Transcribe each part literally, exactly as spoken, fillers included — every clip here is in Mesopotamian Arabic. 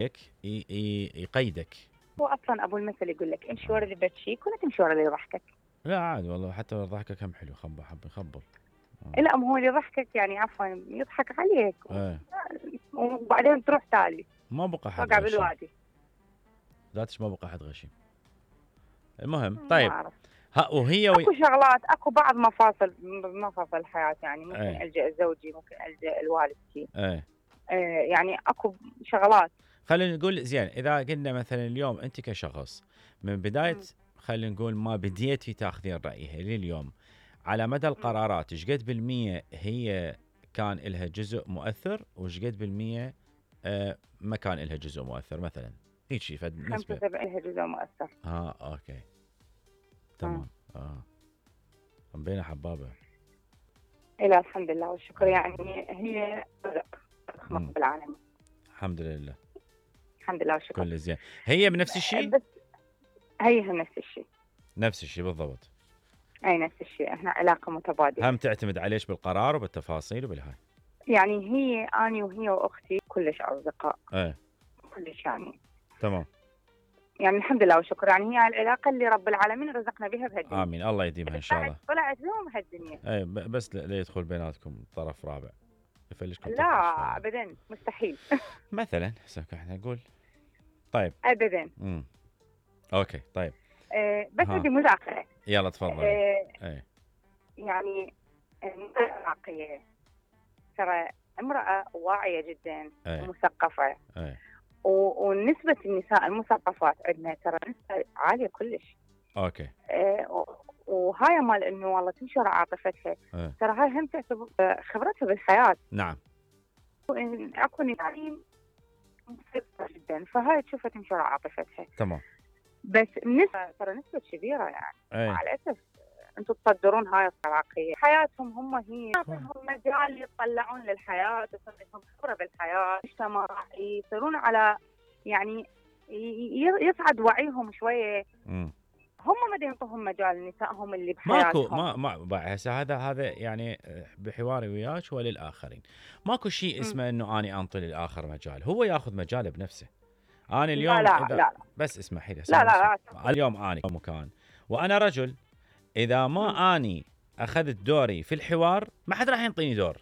ي- ي- يقيدك. هو اصلا ابو المثل يقول لك امشي ورا اللي يبكيك ولا تمشي ورا اللي يضحكك. لا عادي والله، حتى لو ضحكك هم حلو، خب حب يخبل. لا ما هو اللي يضحكك يعني عفوا يضحك عليك ايه. وبعدين تروح تالي ما بقى حد وقع غشيم. بالوادي. ذاتش ما بقى حد غشيم. المهم ما طيب أعرف. ها وهي وي... اكو شغلات، اكو بعض مفاصل مفاصل الحياه يعني ممكن ايه. الجا لزوجي، ممكن الجا لوالدتي. ايه. آه يعني اكو شغلات. خلينا نقول زين، اذا قلنا مثلا اليوم انت كشخص من بدايه مم. خلينا نقول ما بديتي تاخذين رايها لليوم، على مدى القرارات ايش قد بالمية هي كان لها جزء مؤثر وايش قد بالمية آه ما كان لها جزء مؤثر مثلا؟ هيك شيء فد خمسة نسبه. وسبعين لها جزء مؤثر. اه اوكي تمام. اه بين حبابه. إلى الحمد لله والشكر، يعني هي رزق رحمة مم. رب العالمين. الحمد لله. الحمد لله والشكر. كل زين. هي بنفس الشيء؟ بس هي نفس الشيء. نفس الشيء بالضبط. اي نفس الشيء، احنا علاقه متبادله. هم تعتمد عليش بالقرار وبالتفاصيل وبالهاي. يعني هي اني وهي واختي كلش اصدقاء. ايه كلش يعني. تمام. يعني الحمد لله والشكر، يعني هي العلاقه اللي رب العالمين رزقنا بها بهالدنيا. امين، الله يديمها ان شاء الله. طلعت لهم هالدنيا. اي بس لا يدخل بيناتكم طرف رابع يفلشكم. لا ابدا مستحيل. مثلا هسه احنا نقول طيب ابدا. امم اوكي طيب. أه بس بدي مداخله. يلا تفضل. أه اي يعني المرأة العراقية ترى امرأة واعية جدا ومثقفة. اي ونسبة النساء المثقفات عندنا ترى نسبة عالية كلش. اوكي. أه وهاي مال انه والله تمشي ورا عاطفتها. أي. ترى هاي هم تعتبر خبرتها بالحياة. نعم. اكو نساء مثقفة جدا فهاي تشوفها تمشي ورا عاطفتها. تمام. بس النسبة ترى نسبة كبيرة يعني. أي. مع الأسف انتم تصدرون هاي العراقية، حياتهم هم هي هم مجال يطلعون للحياة، يصير لهم خبرة بالحياة، مجتمع يصيرون على يعني يصعد وعيهم شوية. امم هم ما ينطوهم مجال نسائهم اللي بحياتهم. ماكو ما ما هسه هذا هذا يعني بحواري وياك وللآخرين ماكو شيء اسمه انه اني انطي للآخر مجال، هو ياخذ مجاله بنفسه. انا اليوم لا لا إذا لا. بس اسمحي لي. لا لا لا اليوم اني مكان وانا رجل، اذا ما م. اني اخذت دوري في الحوار ما حد راح ينطيني دور.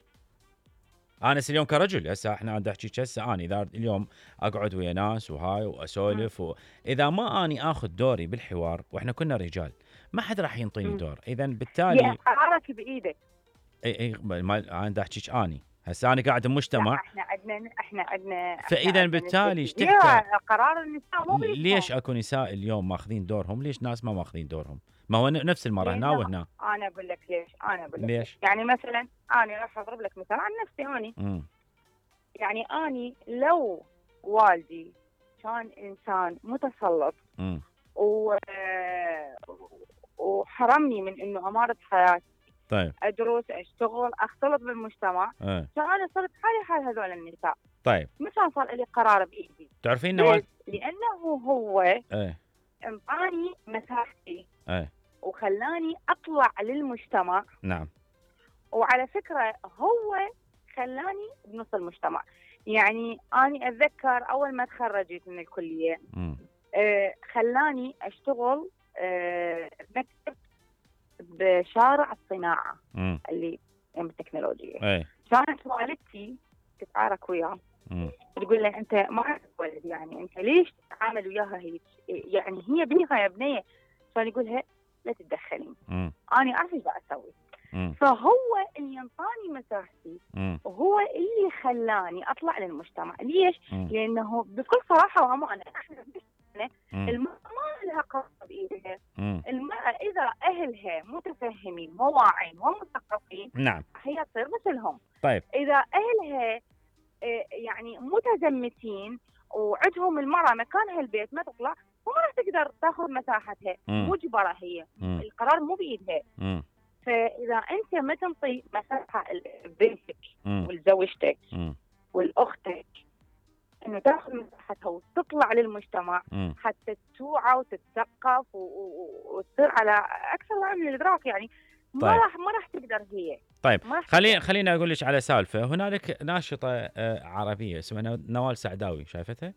انا اليوم كرجل هسه احنا عند احكي هسه اني اذا اليوم اقعد ويا ناس وهاي واسولف و... اذا ما اني اخذ دوري بالحوار واحنا كنا رجال ما حد راح ينطيني دور. اذا بالتالي قرارك بايدك. اي اي ما عند احكيك اني هسه انا قاعد بمجتمع احنا عندنا احنا عندنا فاذا بالتالي ايش تحكي قرار النساء مو ليش اكو نساء اليوم ماخذين دورهم، ليش ناس ما ماخذين دورهم؟ ما هو نفس المره هنا وهنا. انا اقول لك ليش انا اقول لك ليش؟ يعني مثلا انا راح اضرب لك مثال عن نفسي اني. امم يعني اني لو والدي كان انسان متسلط امم و... وحرمني من انه امارس حياتي. طيب ادرس اشتغل اختلط بالمجتمع. ايه. كان انا صرت حالي حال هذول النساء. طيب مش صار لي قرار بايدي. تعرفين نوال؟ لانه هو ايه انطاني مساحتي. ايه وخلاني اطلع للمجتمع. نعم. وعلى فكره هو خلاني بنص المجتمع. يعني اني اتذكر اول ما تخرجت من الكليه آه خلاني اشتغل آه مكتب بشارع الصناعه مم. اللي بالتكنولوجيا. اي كانت والدتي تتعارك وياه تقول له انت ما عندك ولد، يعني انت ليش تتعامل وياها هيك؟ يعني هي بيها يا بنيه. كان يقولها لا تتدخلين، انا اعرف ايش اسوي. فهو اللي ينطاني مساحتي وهو اللي خلاني اطلع للمجتمع. ليش؟ مم. لانه بكل صراحه وامانه احنا المراه ما لها قرار بايدها. المراه اذا اهلها متفهمين وواعين ومثقفين نعم هي تصير مثلهم. طيب اذا اهلها يعني متزمتين وعندهم المراه مكانها البيت ما تطلع وما راح تقدر تاخذ مساحتها. مم. مجبره هي. مم. القرار مو بايدها. مم. فاذا انت ما تنطي مساحه لبنتك ولزوجتك ولاختك انه تاخذ مساحتها وتطلع للمجتمع مم. حتى توعى وتتثقف وتصير على اكثر من الادراك، يعني ما طيب. راح ما راح تقدر هي. طيب خليني خليني اقول لك على سالفه. هنالك ناشطه عربيه اسمها نوال سعداوي، شايفتها؟